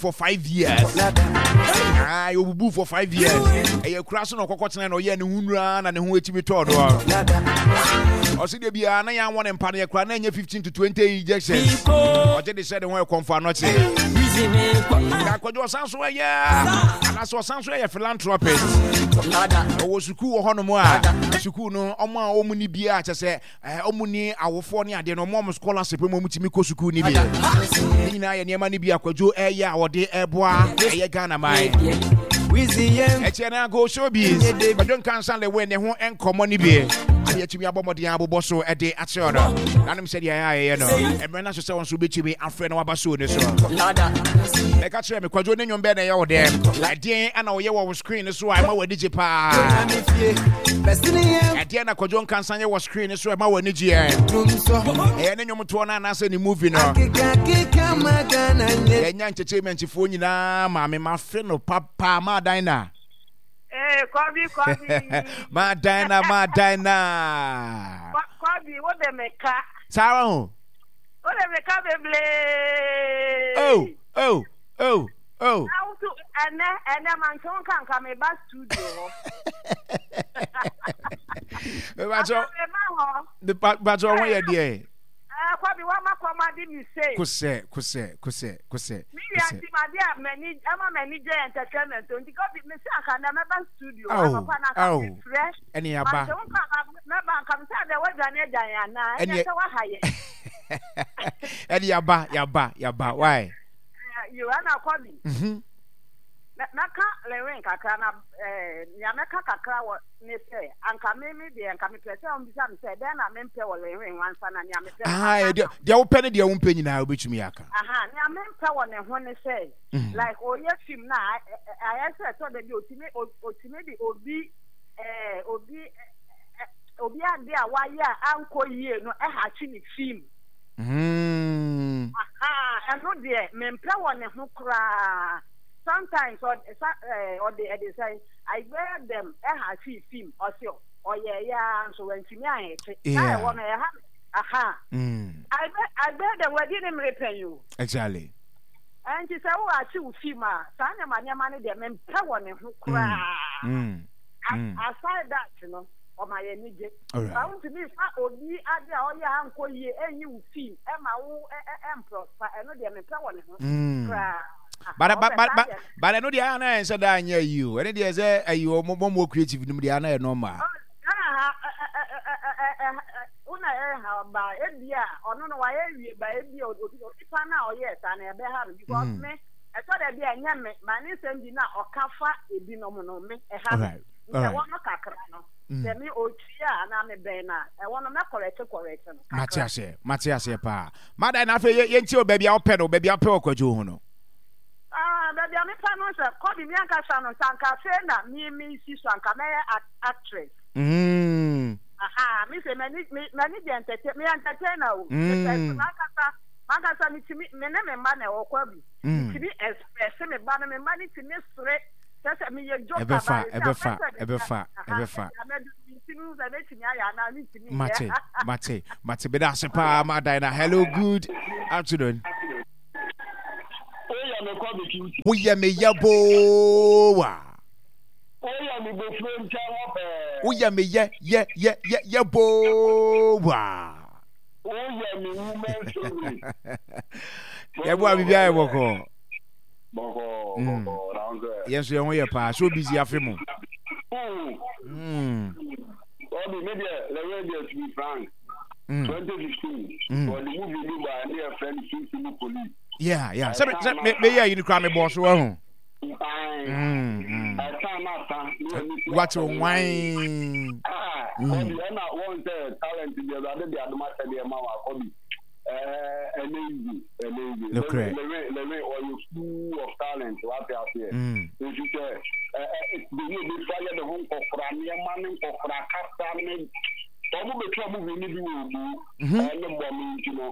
For 5 years. Ah, obubu for 5 years. Ɛyɛ kura so na ɔkɔkɔ tena na ɔyɛ ne ho nura na ne ho etimi tɔɔ no. Ɔsi de biara na yɛn awɔ ne mpa no yɛ kura na ɛnyɛ 15 to 20 injections. Ɔgye de hyɛ ne ho ɛkɔnfo anɔkye. Akɔdwo ɔsan so ɛyɛ anaasɛ ɔsan so ɛyɛ philanthropist. Ɔwɔ sukuu wɔ hɔnom a sukuu no ɔmo a ɔmo ni biara kyɛ sɛ ɔmo ni awofoɔ ne adeɛ no, ɔmo scholarship mu ɔmo tumi kɔ sukuu ne bi. Ne nyinaa yɛ nneɛma no bi akwadwo ɛyɛ a wɔde ɛboa ɛyɛ Ghana man. Ɛkyɛ no ago showbiz Kwadwo Nkansa Lilwin ne ho nkɔmmɔ no bi adeɛ atumi abɔ mmɔden abobɔ so ɛde akyerɛ no nanom sɛdeɛ ɛyɛ a ɛyɛ no mmerɛ no so sɛ wo nso wobɛtumi afrɛ no waba show no so. Ɛka kyerɛ me, Kwadwo ne nnwom bɛɛ na ɛyɛ wo dɛ? Ɛdeɛn ana ɔyɛ wɔ wo screen no so a ɛma w'ani gye paa? Ɛdeɛn na Kwadwo Nkansa yɛ wɔ screen no so a ɛma w'ani gyeɛ? Ɛyɛ ne nnwomtoɔ no anaasɛ ne movie no? Yɛnya entertainmentfoɔ nyinaa maame mafe no papa maadan na. Ee, Kɔbi, Kɔbi. Maadan na, maadan na. Kɔbi, wo de me ka. Saa wa ho. Wo de me ka bebree. Oh, oh, oh, oh. Awoto ɛnɛ ɛnɛ ma nkyɛn nka nka me ba studio hɔ. Mebakyɛ. Me ba hɔ. Mebakyɛ ɔho yɛ deɛ. Ɛɛ Kɔbi wa ma kɔm ade mi se. Kosɛ kosɛ kosɛ kosɛ. Mi wia ti ma de a m'ani ɛma m'ani gye entertainment nti Kɔbi me se anka ndɛ mɛba studio anɔpa na anka me frɛ. Ɛne aba. Ma nkyɛn nka nka mɛba nka me sɛ adɛ wadwane agya yɛn anaa ɛnyɛ sɛ waha yɛn. Ɛne yaba yaba yaba why. Yo ɛna Kɔbi. Mɛka Lilwin kakra na nea mɛka kakra wɔ ne sɛ anka me me deɛ anka mepɛ sɛ ɔmbisa me sɛ dɛn na mempɛ wɔ Lilwin ho ansa na nea mepɛ no maka deɛ deɛ wopɛ ne deɛ wompɛ nyinaa wobɛtumi aka. Aha, nea mempɛ wɔ ne ho ne sɛ like ɔyɛ film na ayɛ sɛ ɛtɔ da bi otumi otumi de obi ɛɛ obi obi ade a wayɛ a ankɔ yie no ɛhakye ne film. Aha, ɛno deɛ mempɛ wɔ ne ho koraa. Sometimes ɔde sa ɛɛ ɔde ɛde sɛn ayigbɛyɛ dɛm ɛha fi fim ɔsi ɔyɛ ɛyɛ ara nso wantumi ahete na ɛwɔ no ɛha me aha. Ayigbɛ ayigbɛyɛ dɛm wadi ne mmere pɛn o. Exactly. Ɛnti sɛ wo akye wo fim a saa nneɛma nneɛma no deɛ mempɛ wɔ ne ho koraa. Aside that no ɔma yɛn ani gye. Ba wontumi nfa obi ade a ɔyɛ a ankɔ yie ɛnyi wo fim ɛma wo ɛmprɔspa ɛno deɛ mempɛ wɔ ne ho koraa. But but but but but ɛno deɛ ana ɛnsɛ da anyɛ ayi o. Ɛno deɛ sɛ ayi o mo mo creative no mu deɛ ana yɛ normal. Wona ɛha ba ebi a ɔno no wayɛ wie ba ebi a onipa no a ɔyɛɛ saa no ɛbɛha no because me ɛtɔ da bi a ɛnyɛ me ma ne nsɛm bi na ɔka fa ebinom no me ɛha me nti ɛwɔ no kakra no sɛ me otwi a anaa me bɛn no a ɛwɔ no mɛ correct correct no kakra. Mate aseɛ, mate aseɛ paa. Madan na afei yɛntie o baabi a wopɛ no, baabi a wopɛ wɔ Kwadwo ho no. Ah, baabi a mepɛ no sɛ Kɔbi me ankasa no sɛ anka afei na me me si so anka mɛyɛ actress. Aha, me sɛ m'ani m'ani gye entertain, me entertainer o. Mepɛ so m'ankasa m'ankasa metumi me ne me mma na ɛwɔ Kɔbi. Metumi express me ba no, me mma no tumi sere. Kyerɛ sɛ meyɛ joker ba Ɛbɛfa, ɛbɛfa, ɛbɛfa, ɛbɛfa. Mate, mate, mate. Meda ase paa ma Diana. Hello, good afternoon. Woyɛ me yɛboowa. Woyɛ me bofuro nkyɛn hɔ pɛɛ. Woyɛ me yɛ yɛ yɛ yɛ yɛboowa. Woyɛ me woman story. Yɛboa biribi ayɛ bɔkɔɔ. Bɔkɔɔ bɔkɔɔ na wo sɛ. Yɛn nso yɛn ho yɛ paa. So busy afe mu. Obi me deɛ lɛwɛ deɛ to be frank. 2015. Wɔde movie bi ba ne yɛ fɛ no Sunsun Police. Yeah yeah. Sɛ sɛ me me yɛ yi ni kura me bɔ so ɛho. Ɛsan na san. Wate nwan. Ah, Kɔbi ɛna wɔn sɛ talent deɛ ɛwurade de adom akyɛdeɛ ma wa Kɔbi. Ɛnɛ easy, ɛnɛ easy. Nokorɛ. Lewin, Lewin, ɔyɛ full of talent, wate aseɛ. Nti sɛ, ɛ ɛ beyi obi fa yɛ ne ho nkɔkora nneɛma ne nkɔkora kasa ne, wɔn bɛtwa movie no bi wɔ obu, ɛne bɔ me nti no,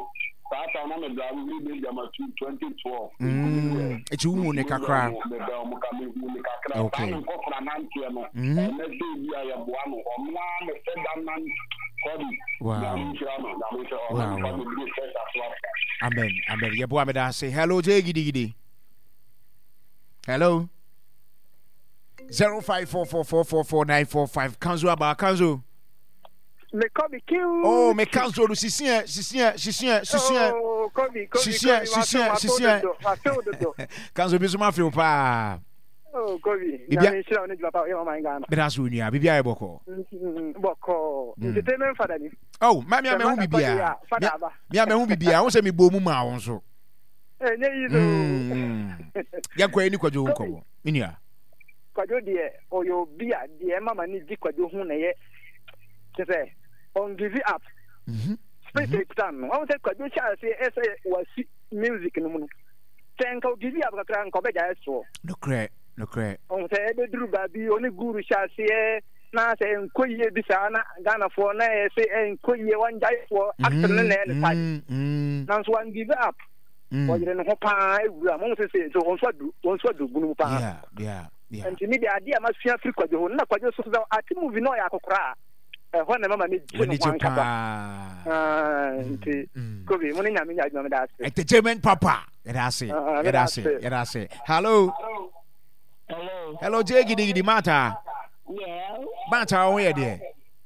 saa time na me drive firi baabi ama 2012. Eti wohu ne kakra. Mebɛn wɔn ka mehu ne kakra. Saa ne nkɔkora nanteɛ no, ɛnɛ sɛ ebi a yɛboa no, ɔno ara ne fɛ da nante. Wow. Wow. Amen. Amen. Yɛboa meda ase. Hello, Jay Gidigidi. Hello. 0544444945 Kanzo aba Kanzo. Me Kobe kiu. Oh, me Kanzo no sisi ɛ sisi ɛ sisi ɛ sisi ɛ. Oh, Kobe Kobe sisi ɛ sisi ɛ sisi ɛ. Kanzo bi so ma feel paa. Oh, Kobe. Nyame nhyira wo ne dwuma pa yɛ ɔman Ghana. Bɛda so onua, biribi ayɛ bɔkɔ. Bɔkɔ. Entertainment fada ni. Oh, ma me amehu biribiara. Me amehu biribiara. Wo sɛ me bɔ mu maa wo nso. Ɛnyɛ yi so. Yɛnkɔ yɛ ni kwadwo nkɔmɔ. Me nua. Kwadwo deɛ ɔyɛ obi a deɛ ɛma ma ne gye kwadwo ho na ɛyɛ kyɛ sɛ ɔn give up. Spirit ekura no. Wɔn sɛ kwadwo hyɛ ase ɛsɛ wasi music no mu no. Sɛ nka o give up kakra nka ɔbɛgyae soɔ. Nokorɛ, nokorɛ. Ɔhu sɛ ɛbɛduru baabi ɔne guru hyɛ aseɛ na sɛ ɛnkɔ yie bi saa na Ghanafoɔ na ɛyɛ sɛ ɛnkɔ yie wɔngyae soɔ acting no na ɛyɛ ne type. Nanso wan give up. Ɔyere ne ho paa awura mo sɛ sɛ wɔn nso adu wɔn nso adu bunu mu paa. Yeah, yeah, yeah. Nti mi de adeɛ a masua firi Kwadwo ho na Kwadwo so sɛ ate movie na ɔyɛ akɔkora a ɛhɔ na ɛma m'ani gye ne ho ankasa. Nti Kobe mo ne Nyame nyɛ adwuma meda ase. Entertainment papa. Yɛda ase. Yɛda ase. Yɛda ase. Hello. Hello. Hello, Jay Gidi Gidi Mata. Yeah. Mata, wo yɛ deɛ.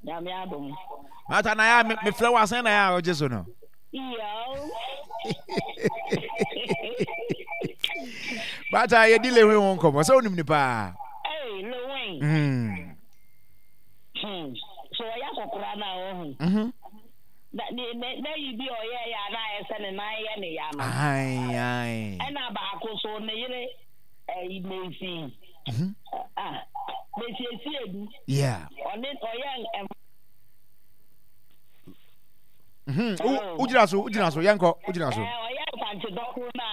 Nyame adom. Mata na ya me frɛ wo asɛn na ya ɔgye so no. Yeah. Mata yɛ di lewe ho nkɔmɔ sɛ wonim ne paa. Hey, Lewin. Mm. Hmm. So ɔyɛ akɔkora na ɔho. Mhm. Na ne ne n'ayi bi a ɔyɛeɛ a na ayɛ sɛ ne nan yɛ ne ya no. Ae, ae. Ɛna baako so ne yere ɛyi Mercy. Mhm. Ah, Mercy Esiedu. Yeah. Ɔne ɔyɛ ɛm. Mhm. Wo wogyina so, wogyina so, yɛnkɔ, wogyina so. Ɛɛ ɔyɛ Mfantse dɔkoro no a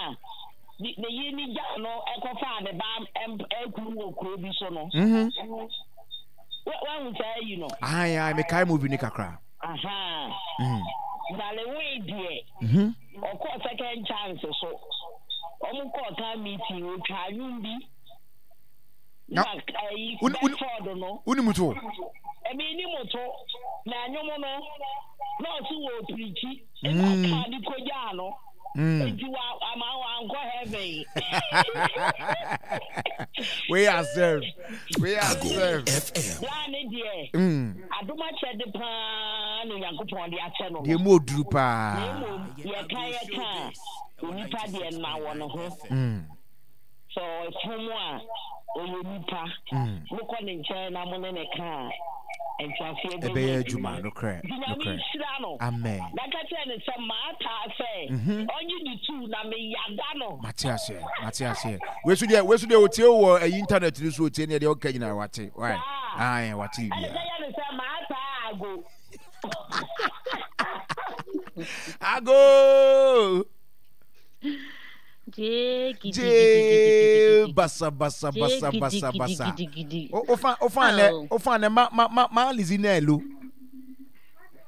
ne ne yere ne gyaa no ɛkɔfaa ne ba ɛm ɛkunu wɔ kuro bi so no. Mhm. Wahu saa ayi no? Ae, ae, mekae movie no kakra. Ahaa. Mm. Na Lewin deɛ, Mhm. ɔkɔɔ second chance so. Wɔn kɔɔ town meeting, otwaa nnwom bi. Na Na ayi wone wone Bedford no. wonim to? Ɛmi ni mo to. Na nnwom no, na ɔsi wɔ pirikyi. Ɛna Mm. kaa ne kogyaa no. Mm. Enti wa ama wankɔ heaven. We are served. We are Ago served. FM. Bra ne deɛ, adom akyɛde paa na Onyankopɔn de akyɛ no Deɛ no. mu oduru Na paa. mmom yɛka yɛka a, onipa deɛ nna wɔ ne ho. Sɛ ɔfom a, ɔyɛ nipa. Mokɔ ne nkyɛn na mo ne no ka a, nteaseɛ bɛyɛ Ɛbɛyɛ adwuma. adwuma. Nokorɛ, Nti Nyame nokorɛ. nhyira no. Amen. Na ka kyerɛ no sɛ maataa sɛ ɔnye ne tuu na meyada no. Mate aseɛ, mate aseɛ. Wei so deɛ, wei so deɛ otie wɔ ɛyi internet no so otie neɛ deɛ ɔka nyinaa wate. Why? Saa. Ae, wate Ɛne biribiara. sɛ yɛ no sɛ maataa ago. Ago! Jee Jee gidigidigidigidi. basa basa Jee basa basa basa. gidigidigidi. O ofa ofa ne Oh. ofa ne ma ma ma ma lizi na elu.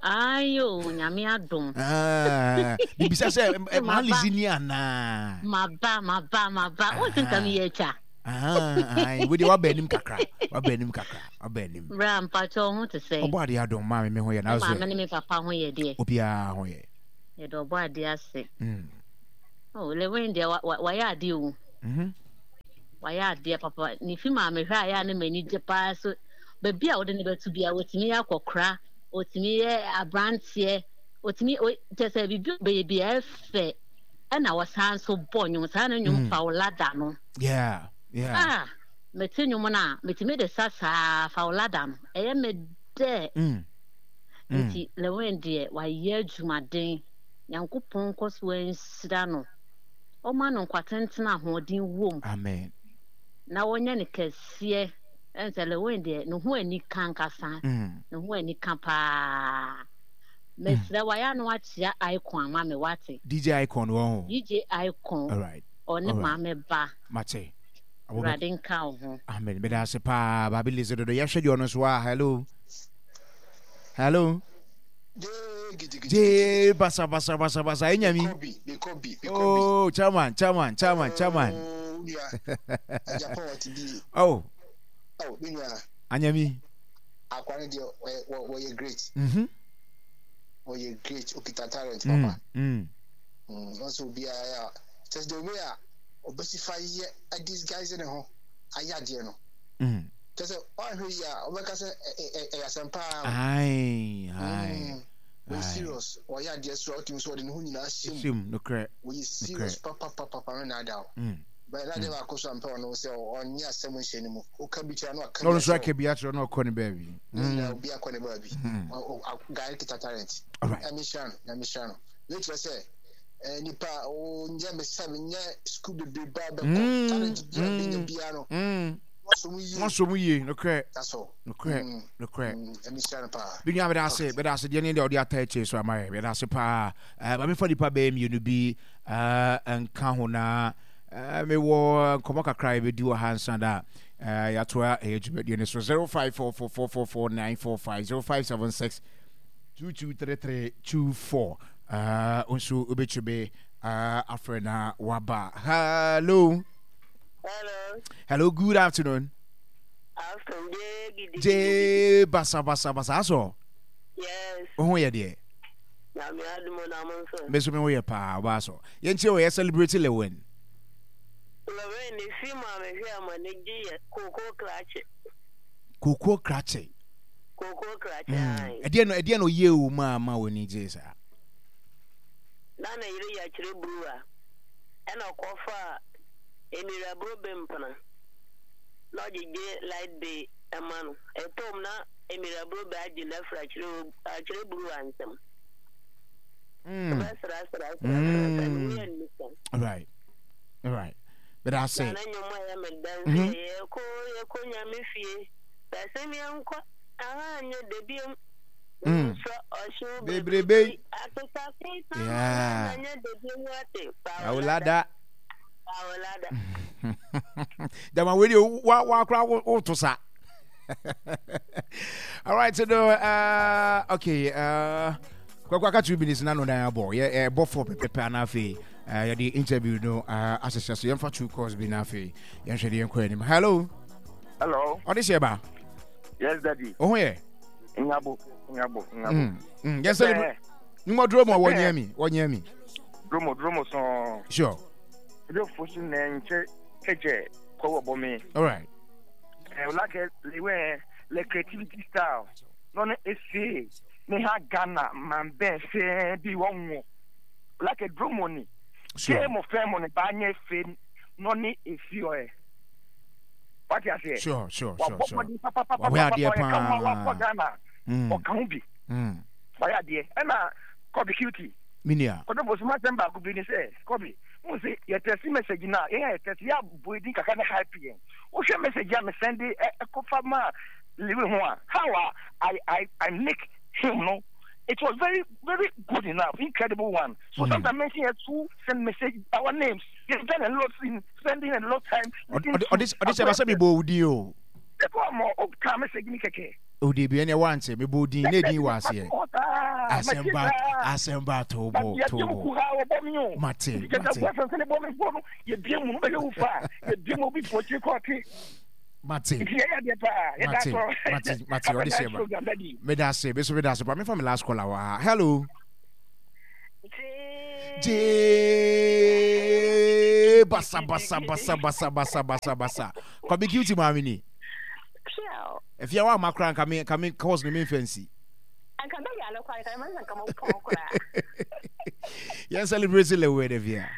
Ayo, nyame adom. Ah, bibisa sɛ ma Maba. lizi ni ana. Maba, maba, maba. Wo sɛ nka meyɛ atwa. Ah, ai, wo de wa ba anim kakra. Wa ba anim kakra. Wa ba anim. Bra mpakyɛ wo ho te sɛn? Ɔbɔ ade adom ma me me ho yɛ na Me so. maame ne me papa ho yɛ deɛ. Obiara ho yɛ. Yɛde ɔbɔ ade ase. Mm. Oh, Lewin deɛ wayɛ adeɛ o. Mm-hmm. Wayɛ adeɛ papa. Ne fi maa mehwɛ a yɛ a ne m'ani gye paa so. Baabi a wode ne bɛto bia wɔtumi yɛ akɔkora, wɔtumi yɛ aberanteɛ, wɔtumi kyɛ sɛ biribi ɔbɛyɛ bi ɛfɛ. Ɛna wɔsan so bɔ nnwom saa ne nnwom mm. fa wo lada no. Yeah, yeah. Ah, mete nnwom no a metumi de sa saa fa wo lada no. Ɛyɛ me dɛ. Mm. Mm. Nti Lewin deɛ wayɛ adwumaden. Nyankopɔn nkɔ so ara nhyira no, ɔma no nkwa tenten a ahoɔden wom. Amen. Na wɔnyɛ no kɛseɛ. Ɛn sɛ Lewin deɛ ne ho anika ankasa. Mm. Ne ho anika paa. Mesrɛ wayɛ ano akyea Icon ama me wate. DJ Icon wɔ ho. DJ Icon. All right. Ɔne All right. maame ba. Mate. Awurade nka wo ho. Amen. Meda ase paa. Baabi Lizzy dodo. Yɛhwɛ deɛ ɔno nso a. Hello. Hello. Jee basa basa basa basa enya mi. Oh, chairman, chairman, chairman, chairman. Oh. Anyami. Akwani deɛ wɔyɛ great. Mhm. Wɔyɛ great okita talent papa. Mm. Mm. Nso obiara yɛ just the way a. ɔbɛsi fa yɛ disguise ne ho ayɛ adeɛ no. Kyɛ sɛ ɔanhwɛ yie a ɔbɛka sɛ ɛyɛ asɛm paa. Ae, ae. Wɔyɛ serious, ɔyɛ adeɛ so a wotumi sɛ ɔde ne ho nyinaa hyɛ mu. Nokorɛ. Wɔyɛ serious papapapa no na ada o. Bɛyɛ na adeɛ baako so a mpɛ ɔno sɛ ɔnyɛ asɛm nhyɛ ne mu. Woka bi kyerɛ no aka bi akyerɛ. Ɔno nso aka bi akyerɛ no ɔkɔ ne baabi. Ne nyinaa obi akɔ ne baabi. Guy kita talent. Nyame hyira no, Nyame hyira no. Wei kyerɛ sɛ nipa ɔnyɛ mesɛ nyɛ sukuu bebrebe a bɛkɔ talent bi a bɛnya biara no. Wɔsɔ mu yie, nokorɛ. Nokorɛ, nokorɛ. Me nua meda ase, meda ase deɛ ne deɛ ɔde ata akyire so ama yɛ. Meda ase paa. Eh, ma mefa nipa bɛyɛ mmienu bi eh, nka ho na eh, mewɔ nkɔmmɔ kakra a yɛbɛdi wɔ ha nsa da eh, yɛatoa ɛyɛ dwumadie no so 0544444945 0576 223324 uh, nso wobɛtumi uh, afrɛ na waba. Hello. Hello. Hello, good afternoon. Afternoon, J basa basa basa asɔ. Yes. Wo ho yɛ deɛ. Nyame adom na mo nso. Me nso me ho yɛ paa ɔbaa sɔ. Yɛn kyerɛ wɔ yɛ celebrate Lewin. Lewin ne fi mu a mehwɛ ama ne gye yɛ koko krakye. Koko krakye. Koko krakye ayi. Ɛdeɛ no ɛdeɛ no yɛ o ma ama wɔ ni gye saa. Na ne yere yɛ akyerɛ buruwa ɛna ɔkɔfa Emira bro be mpena. Na ɔgyegye light bill ma no. Ɛtɔ mu na Emira bro be agye no afiri akyerɛ akyerɛ buruwa nsam. Ɔbɛsra sra sra sra sra ne ho yɛ nika. Right. Right. But I say. Na ne nnwom a ɛyɛ me dɛ nso yɛ yɛkɔ yɛkɔ nyame fie. Bɛsem yɛnkɔ aha nyɛ da biom. Nsɔ ɔhyew bebrebe. Akeka keka na nyɛ da biom ate. Awolada. Dama wei deɛ wa wa kora woto sa. All right, so no, okay, kwakwa aka 2 minutes na no dan abɔ yɛ ɛbɔ fɔ pɛpɛpɛ ana afei yɛde interview no ahyehyɛ so yɛmfa two calls bi na afei yɛnhwɛ de yɛnkɔ anim. Hello. Hello. Ɔde hyɛ ba. Yes, daddy. Oho yɛ. Ngabo, ngabo, ngabo. Yɛn sɛ Nwoma duro mu a wɔnyɛ mi, wɔnyɛ mi. Dromo, dromo sɔn. Sure. Ebi fosi na nkyɛ kɛkyɛ kɔ wɔ bɔ mi. All right. Eh, like le le creativity style. No ne ese ne ha Ghana man bɛn se bi wɔn wo. Like dromo ni. Sure. Ke mo fɛn mo ne ba nye fe no ne esi ɔyɛ. Wate aseɛ. Sure, sure, sure, sure. Wabɔ adeɛ paa. Wakɔ Ghana. Ɔka ho bi. Wayɛ adeɛ. Ɛna Kobe Cutie. Me nua. Kwadwo Bosu m'asɛm baako bi ne sɛ, Kobe, wohu sɛ yɛ tɛsi message no a, yɛn a yɛ tɛsi, yɛ abɔ edin kakra ne hype yɛn. Wohwɛ message a me sɛnde ɛkɔfa maa Lewi ho a, how a I, I, I make him no, it was very, very good enough, incredible one. So sometimes mention yɛ to send message our names. You've done a lot in spending a lot time. Ɔde sɛ basɛ mi bɔ odi o. Ɛkɔ ɔmɔ o ka message ni kɛkɛ. O debi ɛnɛ wante mebɔ odin na edin wɔ aseɛ. Asɛm ba asɛm ba tobo tobo. Mate mate. Mate mate mate mate ɔde hyɛ ba. Meda ase me so meda ase pa mefa me last caller wɔ ha. Hello. Jee basa basa basa basa basa basa basa. Kwabi cutie maame ni. Afia wa ma kora nka me nka me course no me mfa nsi. Anka bɛ yale kwa nka me nka mo pɔn kora. Yɛn celebrate le wɛ de fia.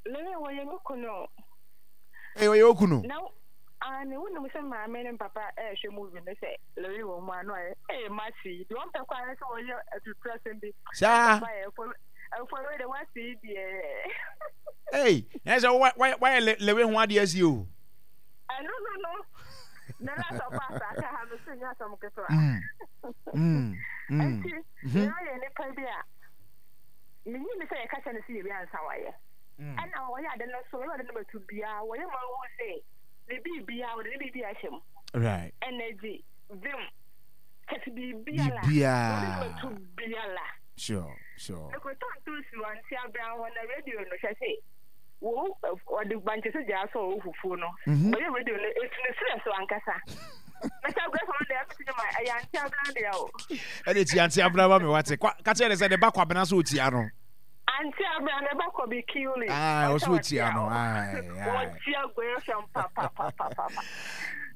Lele wɔ yɛ me kunu. Eh wɔ yɛ okunu. Na ah ne wo nim sɛ maame ne papa eh hwɛ movie no sɛ lele wɔ mu ano ayɛ eh masi de wɔn pɛ kwa sɛ wɔyɛ atutu asɛm bi. Saa. Papa yɛ fo fo wei de wasi deɛ. Hey, na sɛ wayɛ lewe ho adeɛ asi o. Ɛno no no, na na sɛ ɔba asase ha no sɛ nyɛ asɛm ketewa. Nti, na ɔyɛ nipa bi a, menyi ne sɛ yɛka kyɛ no sɛ yɛbi ansa wayɛ. Ɛna wɔyɛ ade no so, wɔyɛ ade no bɛto biara, wɔyɛ ma wohu sɛ ne biribiara, wɔde ne biribi ahyɛ mu. Right. Energy, vim, kyɛ sɛ biribiara, wɔde no bɛto biara. Sure, sure. Mekɔtɔ ntoosi wɔ Ante Abraham hɔ na radio no hwɛ sɛ wo wɔde bankye sɛ gyaa sɛ ɔwɔ fufuo no mhm. ɔyɛ radio no etu ne serɛ so ankasa mɛsɛ agorɔ fam deɛ ɛmɛ ti ma ɛyɛ ante abena deɛ o. Ɛde ti ante abena ma mi wate ka kyerɛ ne sɛ ne ba kwabena so otia no. Auntie Abra ne ba kɔ bi kiuli. Ah, ɔso otia no. Aye, aye. Wɔtia Goyefm pa pa pa pa pa.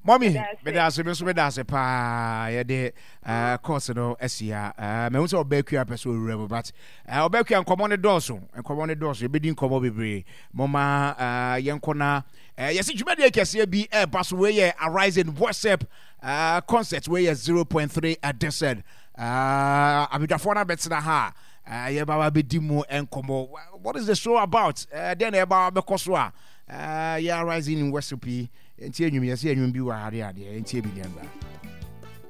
Mɔmi, meda ase, me nso meda ase paa. Yɛde uh, course no asi ha. Uh, mahu sɛ ɔbaa kua pɛ sɛ ɔwura mu, but uh, ɔbaa kua nkɔmmɔ no dɔɔso. Nkɔmmɔ no dɔɔso. Yɛbɛdi nkɔmmɔ bebree. Moma uh, yɛnkɔ na uh, yɛsi dwumadie kɛseɛ bi ɛreba so. Wei yɛ Arise in Worship uh, concert. Wei yɛ 0.3 edition. Uh, abadwafoɔ no abɛtena ha a uh, yɛba bɛdi mu nkɔmmɔ. What is the show about? Uh, dɛn na ɛba bɛkɔ so a uh, yɛ Arise in Worship yi. Nti enwum yɛsɛ enwum bi wɔ ha de adeɛ nti ebi deɛ mbra.